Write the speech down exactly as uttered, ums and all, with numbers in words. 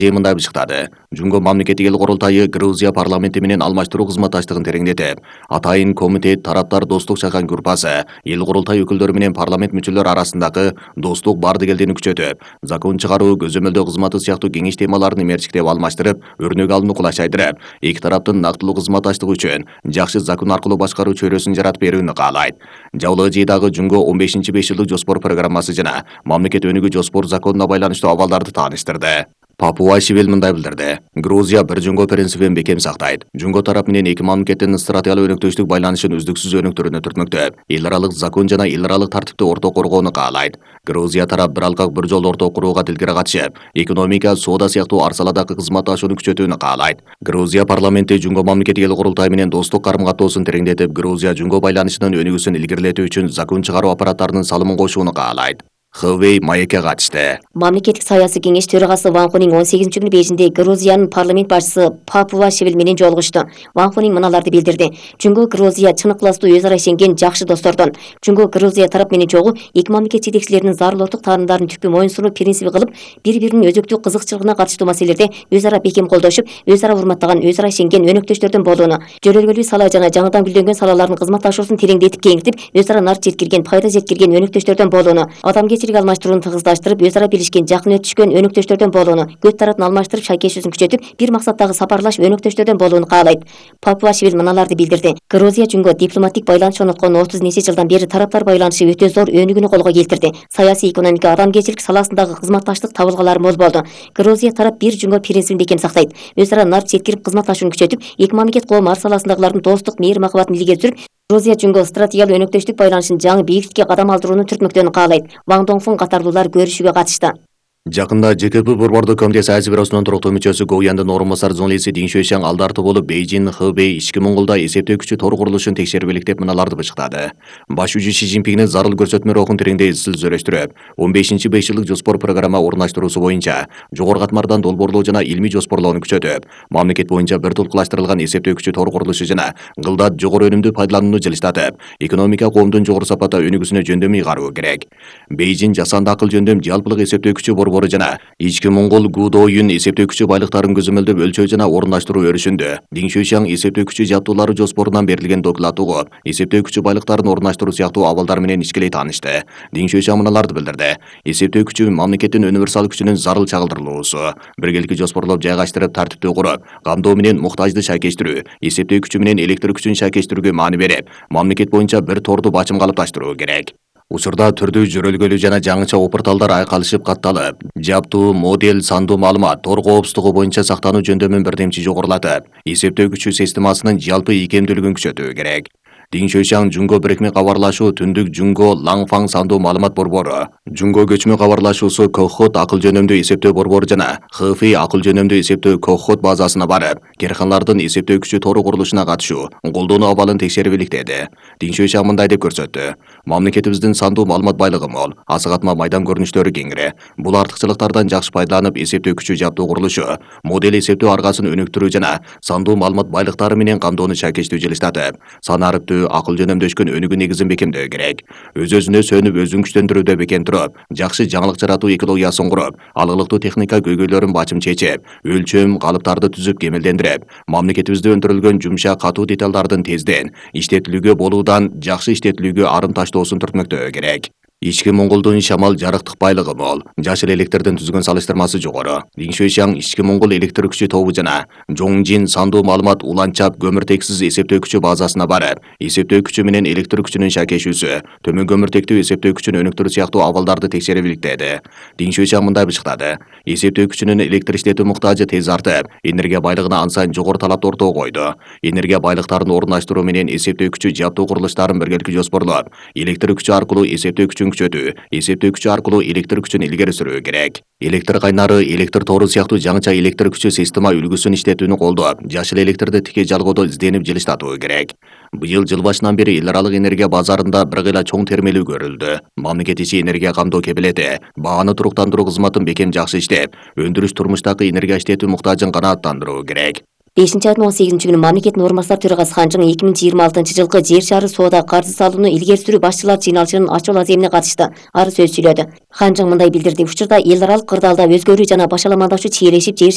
мындай бышыктады. Жунго мамлекеттик эл курултайы Грузия парламенти менен алмаштыруу кызматташтыгын тереңдетип, атайын комитет, тараптар достук чакан группасы, эл курултай өкүлдөрү менен парламент мүчөлөрү арасындагы достук бардыгелдини күчөтүп, закон чыгаруу, көзөмөлдөө кызматы сыяктуу кеңеш темаларын мерчиктеп алмаштырып, өрнөк алууну кулайчайдырып, эки тараптын нактылуу кызматташтыгы үчүн жакшы закон аркылуу башкаруу чөйрөсүн жаратып берүүнү каалайт. Жабылы жыйдагы Жунго он бешинчи беш жылдык жоспор программасы жана мамлекет өнүгүү жоспор законуна байланыштуу абалдарды тааныштырды. Папуа-Шевель мындай билдирди. Грузия бир Жунго принцибин бекем сактайт. Жунго тарап менен эки мамлекеттин стратегиялык өнөктөштүк байланышын үздүксүз өнүктүрүүнү түртмөктөп, эл аралык закон жана эл аралык тартипти орток коргоону каалайт. Грузия тарап бир алкак бир жол орток курууга тилкере катышып, экономика, соода сыяктуу ар саладагы кызматташууну күчөтүүнү каалайт. Грузия парламенти Жунго мамлекеттик эл курултайы менен достук карым-каттоосун тереңдетип, Грузия Жунго байланышынын өнүгүүсүн илгерилетүү үчүн закон чыгаруу аппараттарынын салымын кошууну каалайт. Хэвэй маекке катышты. Мамлекеттик саясий кеңеш төрагасы Ван Хунин он сегизинчи күнү Бейжиңде Грузиянын парламент башчысы Папуа-Шевель менен жолугушту. Ван Хунин мыналарды билдирди. Жунго Грузия чын ыкыластуу өз ара ишенген жакшы достордон. Жунго Грузия тарап менен чогуу эки мамлекет жетекчилеринин зарылдык таандарын түпкү моюнсунуу принциби кылып, бири-биринин өзөктүү кызыкчылыгына катыштуу маселелерде өз ара бекем колдошуп, өз ара урматтаган, өз ара ишенген өнөктөштөрдөн болууну, жөнөлгөлүү сала жана жаңыдан гүлдөнгөн салалардын кызматташуусун тереңдетип кеңиртип, өз ара нар жеткирген, пайда жеткирген өнөктөштөрдөн болууну, адамгерчилик алмаштырууну тыгыздаштырып, өз ара билишкен, жакын өтүшкөн өнөктөштөрдөн болууну, көт таратын алмаштырып, шайкешүүсүн күчөтүп, бир максаттагы сапарлаш өнөктөштөрдөн болууну каалайт. Папуа-Шевель мыналарды билдирди. Грузия Жунго дипломатик байланыш орноткон отуз нече жылдан бери тараптар байланышы өтө зор өнүгүүнү колго келтирди. Саясий, экономика, адамгерчилик саласындагы кызматташтык табылгалары мол болду. Грузия тарап бир Жунго принцибин бекем сактайт. Өз ара нар жеткирип кызматташууну күчөтүп, эки мамлекет коом ар саласындагылардын достук, мейир махабатын илгери сүрүп, Грузия Жунго стратегиялык өнөктөштүк байланышын жаңы бийиктикке кадам алдырууну түртмөктөөнү каалайт. Ван Донгфун катарлуулар көрүшүүгө катышты. Жакында ЖКП Борбордук комитети Азия бюросунун туруктуу мүчөсү Гоуяндын орун басар журналисти Дин Шуйшаң алдарты болуп, Бейжиң, Хэвэй ички Монголдо эсептөө күчү тор курулушун текшерип деп мыналарды бышыктады. Баш жүзү Ши Цзиньпиндин зарыл көрсөтмө рухун тереңдей изчил зөрөштүрүп, он бешинчи беш жылдык жоспор программа орундаштыруусу боюнча жогорку катмардан долбоорлоо жана илмий жоспорлоону күчөтүп, мамлекет боюнча бир тулкулаштырылган эсептөө күчү тор курулушу жана гылдат жогору өнүмдүү пайдаланууну жылыштатып, экономика коомдун жогору сапатта өнүгүүсүнө жөндөм ыйгаруу керек. Бейжиң жасанды акыл жөндөм жалпылык эсептөө күчү борбору жана ички Монгол Гудоюн эсептөө күчү байлыктарын көзөмөлдөп өлчөө жана орундаштыруу өрүшүндө. Дин Шуйшаң эсептөө күчү жаптуулары жоспорунан берилген доклад угуп, эсептөө күчү байлыктарын орундаштыруу сыяктуу абалдар менен ичкилей таанышты. Дин Шуйшаң мыналарды билдирди. Эсептөө күчү мамлекеттин универсал күчүнүн зарыл чагылдырылуусу, биргеликти жоспорлоп жайгаштырып, тартиптүү куруп, камдоо менен муктажды шайкештирүү, эсептөө күчү менен электр күчүн шайкештирүүгө маани берип, мамлекет боюнча бир торду бачым калыпташтыруу керек. Учурда түрдүү жөрөлгөлүү жана жаңыча опурталдар айкалышып катталып, жаптуу, модель, сандуу маалымат, тор коопсуздугу боюнча сактануу жөндөмүн бирдемчи жогорулатып, эсептөө күчү системасынын жалпы ийкемдүүлүгүн күчөтүү керек. Дин Шуйшаң Жунго бирикме кабарлашуу, Түндүк Жунго, Лаңфаң сандуу маалымат борбору, Жунго көчмө кабарлашуусу Кохот акыл жөнөмдүү эсептөө борбору жана Хэфэй акыл жөнөмдүү эсептөө Кохот базасына барып, керканалардын эсептөө күчү тору курулушуна катышуу, колдонуу абалын текшерип иликтеди. Дин Шуйшаң мындай деп көрсөттү. Мамлекетибиздин сандуу маалымат байлыгы мол, асыгатма майдан көрүнүштөрү кеңири. Бул артыкчылыктардан жакшы пайдаланып, эсептөө күчү жаптуу курулушу, модель эсептөө аргасын өнүктүрүү жана сандуу маалымат байлыктары менен камдоону шайкештүү жылыштатып, санариптүү акыл жөнөмдөшкөн өнүгүү негизин бекемдөө керек. Өз-өзүнө сөнүп, өзүн күчтөндүрүүдө бекем туруп, жакшы жаңылык жаратуу экологиясын куруп, алыктуу техника көйгөйлөрүн бачым чечип, өлчөм, калыптарды түзүп кемелдендирип, мамлекетибизде өндүрүлгөн жумшак, катуу деталдардын тезден иштетилүүгө болуудан жакшы иштетилүүгө арын таштоосун түртмөктөө керек. Ички Монголдун шамал жарыктык байлыгы мол, жашыл электрдин түзгөн салыштырмасы жогору. Дин Шуйшаң Ички Монгол электр күчү тобу жана Жоңжин сандуу маалымат уланчап көмүртексиз эсептөө күчү базасына барып, эсептөө күчү менен электр күчүнүн шайкешүүсү, төмөн көмүртектүү эсептөө күчүн өнүктүрүү сыяктуу абалдарды текшерип иликтеди. Дин Шуйшаң мындай бышыктады. Эсептөө күчүнүн электр иштетүү муктажы тез артып, энергия байлыгына ан сайын жогору талапты ортого койду. Энергия байлыктарын орундаштыруу менен эсептөө күчү жаптуу курулуштарын биргеликти жоспорлоп, электр күчү аркылуу эсептөө күчүн күчөтүү, эсептөө күчү аркылуу электр күчүн илгери сүрүү керек. Электр кайнары, электр тору сыяктуу жаңыча электр күчү система үлгүсүн иштетүүнү колдоп, жашыл электрди тике жалгоодо изденип жылыштатуу керек. Быйыл жыл башынан бери эл аралык энергия базарында бир кыйла чоң термелүү көрүлдү. Мамлекет ичи энергия камдоо кепилети, бааны туруктандыруу кызматын бекем жакшы иштеп, өндүрүш турмуштагы энергия иштетүү муктажын канааттандыруу керек. бешинчи айдын он сегизинчи күнү мамлекеттин орун басар төрагасы Ханжың эки миң жыйырма алтынчы жылкы жер шаары соода каржы салууну илгери сүрүү башчылар жыйналышынын ачуу аземине катышты. Ары сөз сүйлөдү. Ханжың мындай билдирди: учурда эл аралык кырдаалда өзгөрүү жана башаламандашуу чиелешип, жер